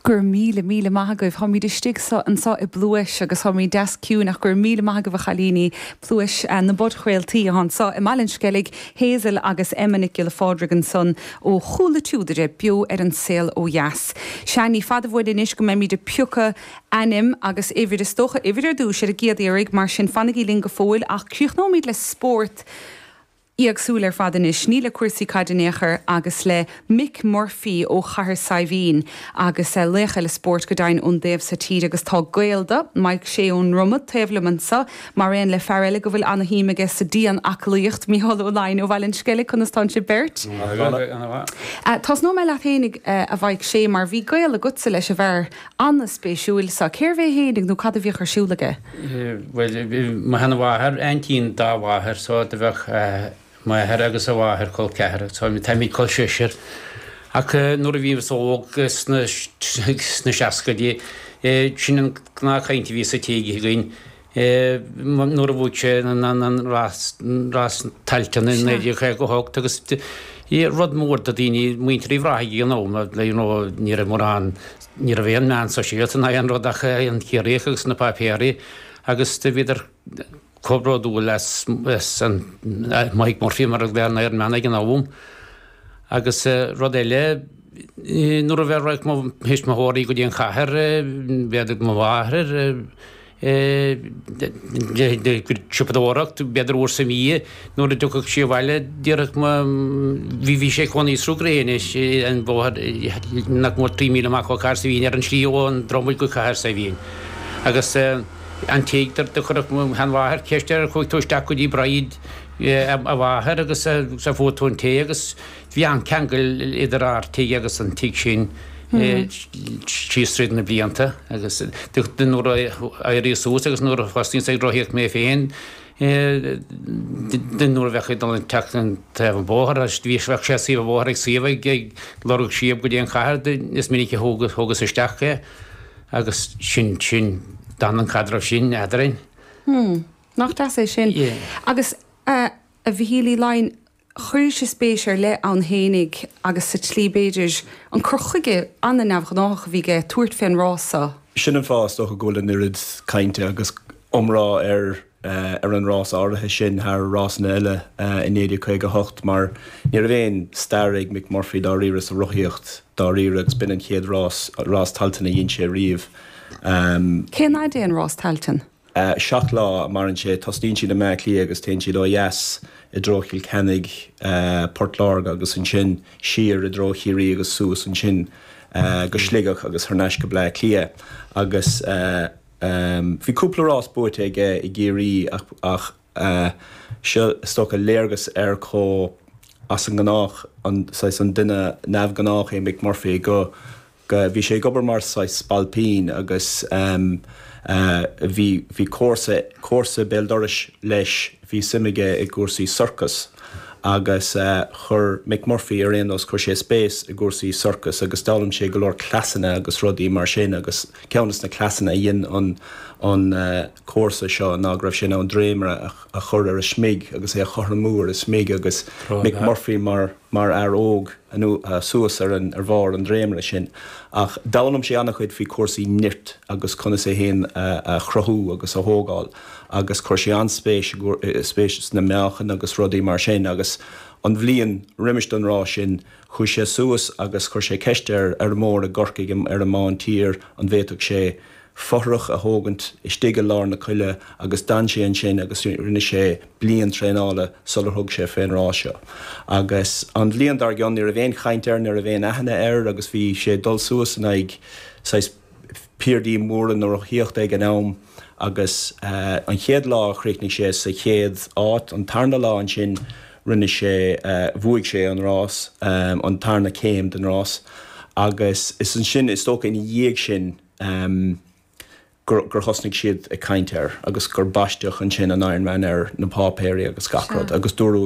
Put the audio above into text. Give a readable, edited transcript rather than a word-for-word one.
Go raibh míle, míle maith agaibh. Táimid istigh anseo i bpluais agus táimid deas ciúin ach go raibh míle maith agaibh a chailíní. Pluais na bPodchraoltaí atá anseo i mBaile an Sceilg, Hazel agus Emma Nic Giolla Phádraig ansan ó Chúl na Tiúdaire, beo ar An Saol Ó Dheas. Sea, ní fada uainn anois go mbeimid ag piocadh ainm agus uimhir, is dócha uimhir ar dtús, ar an gcéad iarraidh, mar sin fanaigí linn go fóill ach críochnóimid le spórt. éagsúil ar fad anois, ní le cúrsaí caide in aon chor, agus le Mick Murphy ó Chathair Saidhbhín agus laoch eile spóirt go deimhin ón dtaobh so tíre agus tá gaol do, Mike Shea ón nDromad, taobh liom anseo, mar aon le fear eile go bhfuil ana-shuim aige sa dian-aclaíocht, Mícheál Ó Laighin ó Bhaile an Sceilg, conas tánn sibh beirt? Ana-mhaith. Tosnóidh mé leat fhéinig, a Mhaidhc Shea, mar bhí gaol agatsa leis an bhfear ana-spéisiúil so. Cérbh é fhéinig nó cad a bhíodh ar siúl aige? Bhuel, mo sheanmháthair, aintín dá mháthair, so do bheadh m'athair agus a mháthair col ceathar, so táimid col sisir. Ach nuair a bhíos óg sna seascaidí, sin an gnáthchaint a bhí sa tigh againn, nuair a bhuaigh sé an rás, rás Tailteann i 1958 agus rud mór do daoine, muintir Uíbh Ráthaigh ag an am, you know, ní raibh mórán, Ní raibh aon meán sóisialta ná aon rud ach an Ciarraíoch agus na páipéirí agus do bhíodar chomh bródúil as an Mike Murphy mar a bheadh an Ironman ag an am. Agus rud eile, nuair a bheadh mo thuismitheoirí go dtí an chathair, b'fhéidir mo mháthair, siopadóireacht, b'fhéidir uair sa mhí, nuair a dtiocfadh sí abhaile, déarfadh mo, bhí, bhí sé ag cónaí i Sruth Gréine, an bóthar nach mór 3 míle amach ó Chathair Saidhbhín, ar an slí ón Dromaid go Cathair Saidhbhín. Agus an tigh, do chuirfeadh mo sheanmháthair ceist air, chuaigh tú isteach go dtí Bridie, a mháthair, agus a fuair tú an tae agus Bhí an-cheangal idir ár tigh agus an tigh sin síos tríd na blianta agus nuair a éiríos suas agus nuair a thosnaíos ag rothaíocht mé féin nuair a bheadh ag dul an teach an taobh an bhóthair bhí bheadh sé taobh an bhóthair ag suíomh ag lorg síob go dtí an chathair is minic a thógas isteach é agus sin sin d'fhan an caidreamh sin eadrainn. Hmm. Nach deas é sin. Yeah. Agus a Mhichíl Uí Laighin, Chuiris spéis ar leith ann fhéinig agus sa tslí, b'fhéidir, an cur chuige an-neamhghnáthach a bhí aige tabhairt fén rás so. Sin an fáth, is dócha, go bhfuil an oiread cainte agus iomrá ar ar an rás áirithe sin thar rásanna eile i 1958 mar ní raibh aon stair ag Mick Murphy dáiríre sa rothaíocht dáiríre agus b'in an chéad rás, rás Tailteann a dhein sé riamh. Cén fhaid é an rás Tailteann? 7 lá a maireann sé. Tosnaíonn siad i mBleá Cliath agus téann siad ó dheas i dtreo Chill Ceannaigh, Port Láirge agus ansin siar i dtreo Chiarraí agus suas ansin go Sligeach agus thar n-ais go Bleá Cliath. Agus bhí cúpla rás buaite aige i gCiarraí ach seo is dócha léargas ar chomh as an ngnách, an saghas an duine neamhghnách é Mick Murphy go go, bhí sé ag obair mar saghas spailpín agus bhí, bhí comharsa, comharsa béal dorais leis, bhí suim aige i gcúrsaí sorcas agus chuir Mick Murphy ar aon nós, chuir sé spéis i gcúrsaí sorcas agus d'fhoghlaim sé go leor cleasanna agus rudaí mar sin agus ceann des na cleasanna a dhein an, an comharsa seo ná go raibh sé in ann dréimire a, a chur ar a smig agus é a chothromú ar a smig agus Mick Murphy mar, mar fhear óg. suas ar an ar bharr an dréimire sin. Ach d'fhoghlaim sé an-chuid faoi chúrsaí nirt agus conas é féin a chruthú agus a thógáil agus chuir sé an-spéis spéis sna meáchain agus rudaí mar sin agus an bhliain roimis don rás sin chuaigh sé suas agus chuir sé ceist ar fheirmeoir i gCorcaigh ar an mBán Tiar an bhféadfadh sé fothrach a thógaint istigh i lár na coille agus d'fhan sé ansin agus rinne sé bliain traenála sular thug sé fén rás seo. Agus an bhliain dár gcionn ní raibh aon chaint air, ní raibh aon aithne air agus bhí sé ag dul suas in aghaidh saghas piardaí móra na rothaíochta ag an am agus an chéad lá chríochnaigh sé sa chéad áit, an tarna lá ansin rinne sé, bhuaigh sé an rás, an tarna céim den rás agus is ansin is dócha ina dhiaidh sin, gur thosnaigh siad ag caint air agus gur baisteadh ansin an Ironman air na páipéirí agus gach rud agus dúradh.